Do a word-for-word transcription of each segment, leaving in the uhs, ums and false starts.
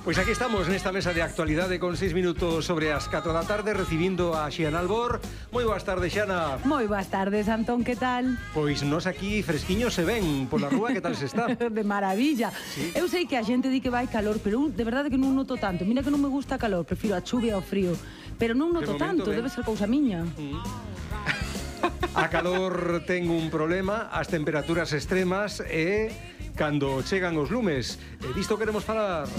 Pois aquí estamos nesta mesa de actualidade con seis minutos sobre as catro da tarde, recibindo a Xiana Albor. Moi boas tardes, Xiana. Moi boas tardes, Antón, que tal? Pois nos aquí fresquiños se ven pola rúa, que tal se está? De maravilla. Sí. Eu sei que a xente di que vai calor, pero de verdade que non noto tanto. Mira que non me gusta calor, prefiro a chuvia ao frío. Pero non noto tanto, ben. debe ser cousa miña. Mm. A calor ten un problema, as temperaturas extremas e cando chegan os lumes. E disto queremos falar.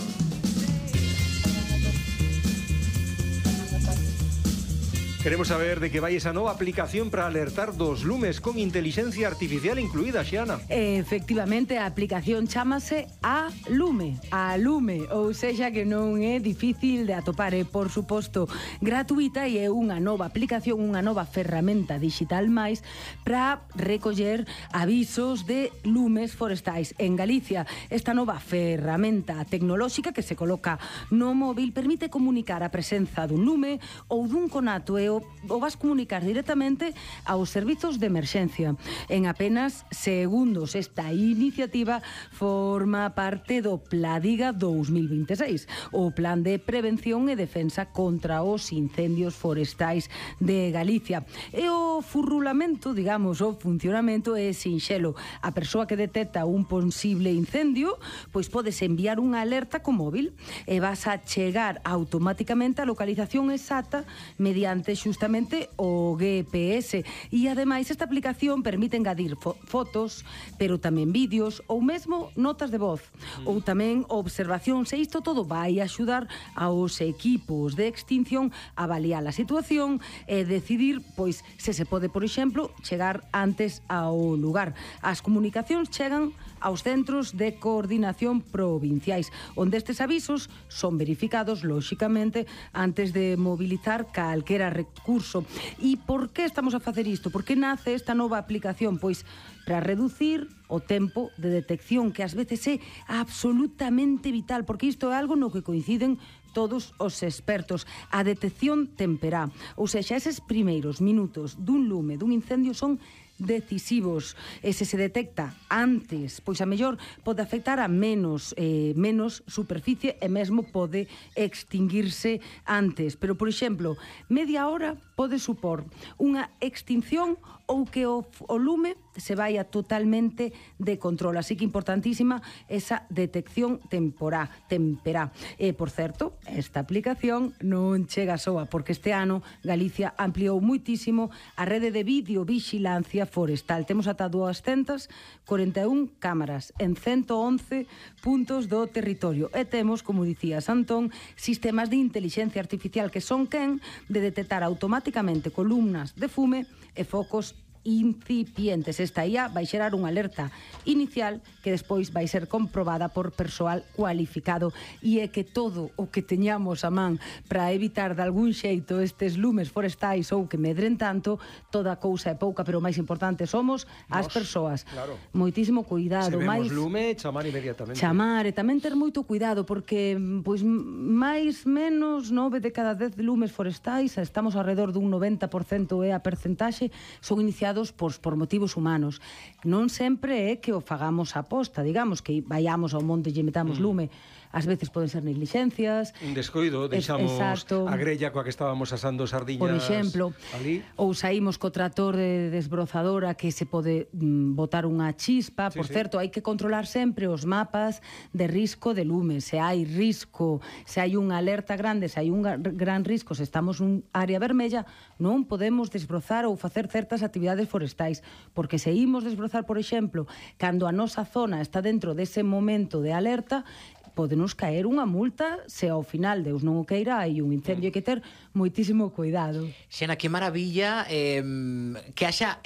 Queremos saber de que vai esa nova aplicación para alertar dos lumes con inteligencia artificial incluída, Xiana. Efectivamente, a aplicación chámase A Lume, A Lume, ou sexa que non é difícil de atopar, é, por suposto, gratuita e é unha nova aplicación, unha nova ferramenta digital máis para recoller avisos de lumes forestais. En Galicia, esta nova ferramenta tecnolóxica que se coloca no móvil permite comunicar a presenza dun lume ou dun conato e o, o vas comunicar directamente aos servizos de emerxencia. En apenas segundos, esta iniciativa forma parte do Pladiga dous mil vinte e seis, o Plan de Prevención e Defensa contra os Incendios Forestais de Galicia. E o furrulamento, digamos, o funcionamento é sinxelo. A persoa que detecta un posible incendio, pois podes enviar unha alerta co móvil e vas a chegar automáticamente a localización exacta mediante xustamente o G P S. E ademais esta aplicación permite engadir fo fotos, pero tamén vídeos ou mesmo notas de voz, mm. ou tamén observacións, e isto todo vai axudar aos equipos de extinción a avaliar a situación e decidir pois se se pode, por exemplo, chegar antes ao lugar. As comunicacións chegan aos centros de coordinación provinciais, onde estes avisos son verificados, lóxicamente, antes de mobilizar calquera recurso. E por que estamos a facer isto? Por que nace esta nova aplicación? Pois para reducir o tempo de detección, que ás veces é absolutamente vital, porque isto é algo no que coinciden todos os expertos. A detección temperá, ou seja, eses primeiros minutos dun lume, dun incendio, son decisivos. E se se detecta antes, pois a mellor pode afectar a menos eh, menos superficie e mesmo pode extinguirse antes. Pero, por exemplo, media hora pode supor unha extinción ou que o, o lume se vaya totalmente de control. Así que importantísima esa detección temporá, temperá. E, por certo, esta aplicación non chega soa, porque este ano Galicia ampliou muitísimo a rede de videovigilancia forestal. Temos ata duascentas corenta e un cámaras en ciento once puntos do territorio. E temos, como dicía Antón, sistemas de inteligencia artificial que son quen de detectar automáticamente columnas de fume e focos incipientes. Esta I A vai xerar unha alerta inicial que despois vai ser comprobada por persoal cualificado, e é que todo o que teñamos a man para evitar de algún xeito estes lumes forestais ou que medren tanto, toda cousa é pouca, pero o máis importante somos as persoas. Claro. Moitísimo cuidado. Se vemos máis lume, chamar inmediatamente. Chamar, e tamén ter moito cuidado, porque pois máis menos nove de cada dez lumes forestais, estamos alrededor dun noventa por cento é a percentaxe, son iniciados Por, por motivos humanos. Non sempre é que o fagamos a posta, digamos, que vayamos ao monte e metamos mm. lume. Ás veces poden ser negligencias, un descoido, deixamos exacto, a grella coa que estábamos asando sardiñas, por exemplo, ali, ou saímos co trator de desbrozadora que se pode mm, botar unha chispa. Sí, por sí. certo, hai que controlar sempre os mapas de risco de lume. Se hai risco, se hai unha alerta grande, se hai un gran risco, se estamos nun área vermella, non podemos desbrozar ou facer certas actividades forestais, porque se imos desbrozar, por exemplo, cando a nosa zona está dentro dese momento de alerta, podenos caer unha multa se ao final, Deus non o queira, hai un incendio, hai que ter moitísimo cuidado. Xena, que maravilla eh, que haxa